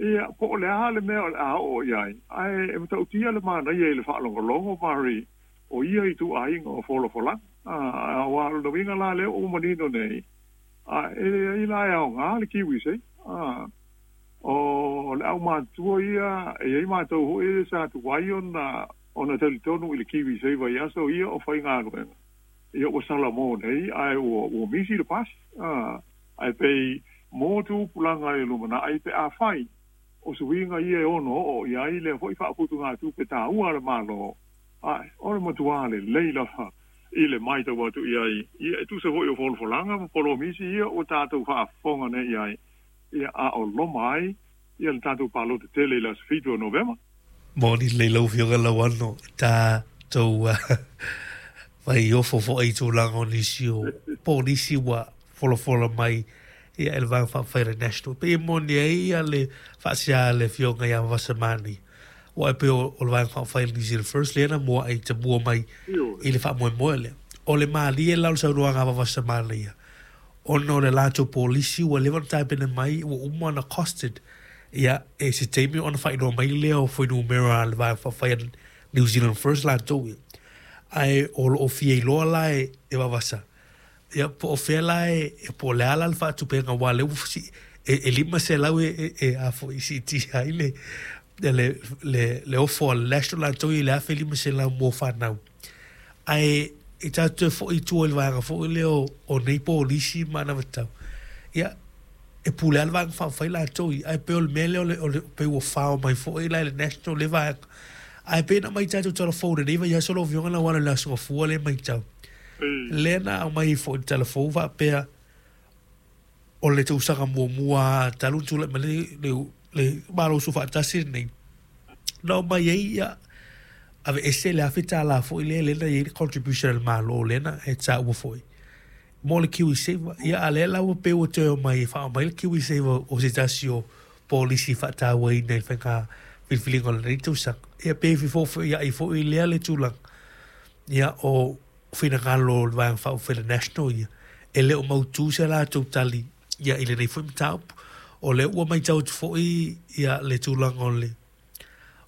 Ia, po o le a le mea o le a oo i ai, ae e matautia le manaia i le faalogologo, Mari, o ia ituaiga o folafolaga. Aua o lona uiga la lea ua manino nei, a e leai la e aoga le KiwiSaver. O le aumatutua ia, e i ai matou foi sa tuai ona talitonu i le KiwiSaver i aso ia o faigaluega. Ia ua salamo nei ae ua misi le pasi. Ae pei mo tupulaga i le lumanai pe afai o suiga ia e ono oo i ai lea foi faaputugatupe taua a le Malo, ae o le matua lelei lava i le matau atu i ai, ia e tusa foi o folafolaga ma polomisi ia ua tatou faafofoga nei i ai, ia a o loma ai ia le tatou palota tele i le aso 7 o Novema. Moni lelei lau Afioga Lauano i tatou fai ofo foi i tulaga o nisi o polisi ua folafola mai ia e le Vaega Faaupufai a le National. Pei e moni ai ia le faasea a le Afioga ia Vasamani, aua e pei o le Vaega Faaupufai a le New Zealand First lea na muai tamua mai i le faamoemoe lea. O le malie la o le saunoaga a Vasamani ia, ona o le latou polisi ua leva ona tapena mai, ua uma ona costed, ia e se taimi ona faailoa mai lea o fuainumera a le Vaega Faaupufai a New Zealand First latou ia. Ae o lo o fia iloa la e Vavasa, ia po o fea la e, po o le a la le faatupega, aua o lea ua e 500 e a foi siitia ai le ofo a le National latou ia i le 1500 mo fanau. Ae e tatou toe foi i tua i le vaega foi lea o nei polisi ma anavatau, ia e pule lava le Vaega Faaupufai latou ia, ae pei o le mea lea o le pei ua fao mai foi la i le National lea vaega. Ae pei na aumai tatou tala fou i lenei vaiaso lau Afioga Lauano i le Aso Gafua lea e matau, lea na aumai ai foi i le tala fou faapea o le tausaga muamua talu ona tulai mai le Malo Soofaatasi lenei, na aumai ai ia aveese le $1,000 foi lea lea na i ai le contribution a le Malo lea na e taua foi mo le KiwiSaver. Ia a lea la ua pei ua toe omai e faaomai le KiwiSaver o se tasi o polisi faatauaina i le faiga filifiliga o lenei tausaga. Ia pei e fefofoiai foi lea le tulaga. Ia o finagalo o le Vaega Faaupufai le National ia, e le o mautu se latou tali ia i lenei foi mataupu. O lea ua matau atu foi ia le tulaga o le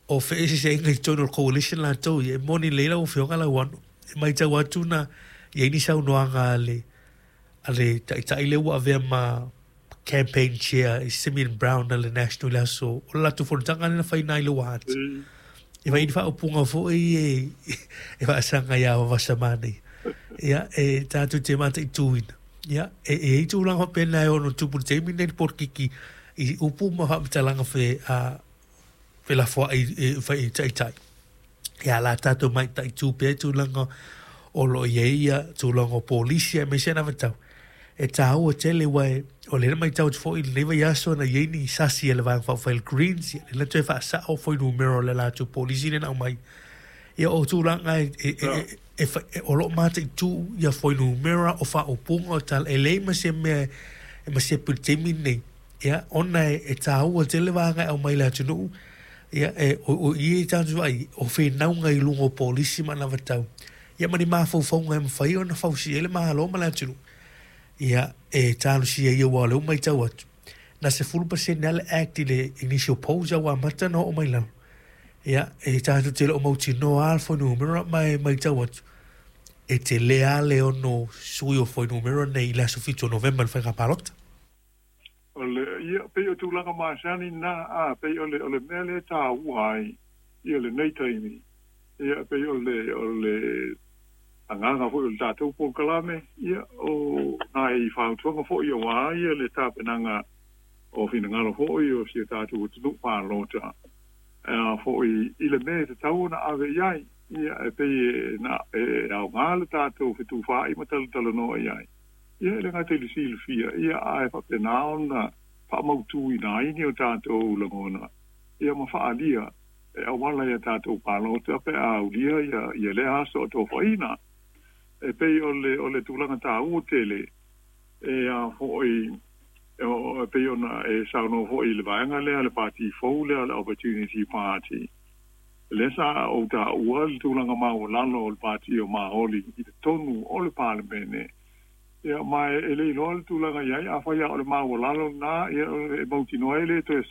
o feeseeseaiga i totonu o le coalition latou ia, e moni lelei lau Afioga Lauano, e matau atu na i ai ni saunoaga a le taitai lea ua avea ma campaign chair i Simeon Brown a le National i le aso o le latou fonotaga lea na fai na i Lower Hutt. E fai ni faaupuga foi e faasaga iā Vasamani. Ia, e tatou te mataituina. Ia, e i tulaga faapena e ono tupu i le taimi lenei le polokiki i upu ma faamatalaga fe a felafoai e fai taitai. Ia la tatou mataitu pea tulaga o lo o i ai ia tulaga o polisi aemaise anavatau. E taua tele aua o lea na matau atu foi i lenei vaiaso na i ai ni sasi a le Vaega Faaupufai a le Greens, ia lea na toe faasao fuainumera o le latou polisi lea na aumai. Ia o tulaga e o lo o mataitu ia fuainumera o faaupuga o tala, e leai ma se mea e masepu i le taimi lenei. Ia ona e taua tele vaega e aumai i le atunuu, ia e o i e tatou vaai o whenauga i luga o polisi ma anavatau. Ia ma ni mafaufauga e mafai ona fausia ai le Malo ma le atunuu. Ia e talosia ia aua o lea ua matau atu. Na 10% lava le act i le initial polls a ua amata ona oo mai lalo. Ia e tatou te le o mautinoa lava le fuainumera ma e matau atu. E tele lava le ono sui o fuainumera nei i le aso 7 o Novema i le faiga palota. O le ia pei o tulaga masani na a pei o le mea lea e taua ai ia lenei taimi. Ia pei o le agaga foi o le tatou polokalame, ia o nai fautuaga foi aua ia le tapenaga o finagalo foi o si o tatou atunuu palota a foi i le mea e tatau ona ave i ai. Ia e pei e na e aoga le tatou fetufaai ma talatalanoa i ai. Ia e le gata i le silafia, ia ae faapena ona faamautuina ai ni o tatou lagona, ia ma faaalia e auala ia tatou palota pe a aulia ia lea aso o tofaina. E pei o le tulaga taua tele e a foi e pei ona e saunoa foi i le vaega lea le pati fou lea le Opportunity Party. Lea sa ou taua le tulaga maualalo o le pati o Maoli i totonu o le Palemene. Ia ma e le iloa le tulaga i ai, afai lava o le maualalo lena, ia e mautinoa e le toe